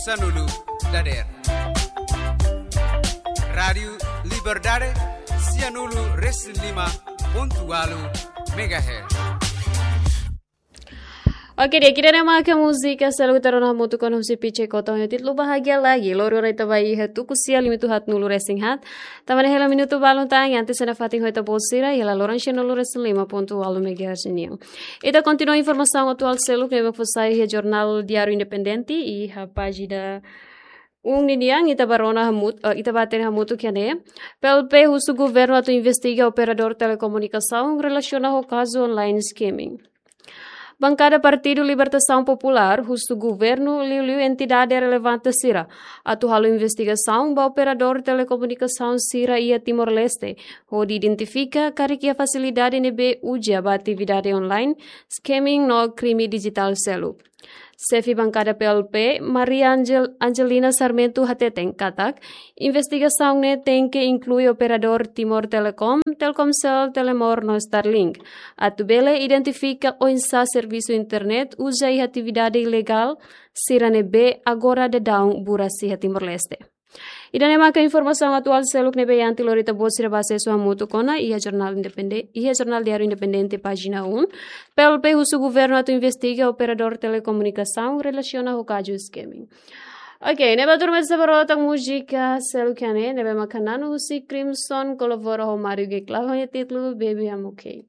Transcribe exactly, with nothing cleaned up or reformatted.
Sanulu dader. Rádiu Liberdade, sianulu resin lima pontu walu megahertz. Oke, di'ak, ida-ne'e maka múzika seluk ita rona hamutuk ona husi Piche Kota ho títulu Bahagia Lagi. Lori ona ita ba iha tuku sia limitu haat nulu resin haat. Tanba ne'e hela minutu balun tan, antes ita nafatin ho ita-boot sira iha laloran sianulu resin lima pontu walu megahertz nian. Ita kontinua informasaun atuál seluk ne'ebé fó sai iha jornál Diáriu Independente iha pájina um ninian, ita ba rona hamutuk, eh, ita ba hatene hamutuk iha ne'e. P L P husu governu atu investiga operadór telekomunikasaun relasiona ho kazu online scamming. Bankada Partidu Libertasaun Populár husu governu liuliu entidade relevante sira atu halo investigasaun ba operadór telekomunikasaun sira iha Timor-Leste, hodi identifika karik iha fasilidade ne'ebé uza ba atividade online, scamming no krime dijitál seluk. Xefe bankada P L P, Maria Angel-, Angelina Sarmento hateten katak, investigasaun ne'e tenke inklui operadór Timor Telecom, Telkomcel, Telemor no Starlink, atu bele identifika oinsá servisu internet uza iha atividade ilegál sira ne'ebé agora daudaun buras iha Timor-Leste. Ida-ne'e maka informasaun atuál seluk ne'ebé iha antelori ita-boot sira ba asesu hamutuk ona iha jornál independe-, iha jornál Diáriu Independente pájina um. P L P husu governu atu investiga operadór telekomunikasaun relasiona ho kazu scamming. Oke, ne'e ba turma sira ba rona tan múzika seluk iha ne'e, ne'ebé maka Nano husi Crimson kolabora ho Mario Geclave ho nia títulu Baby I'm Okay.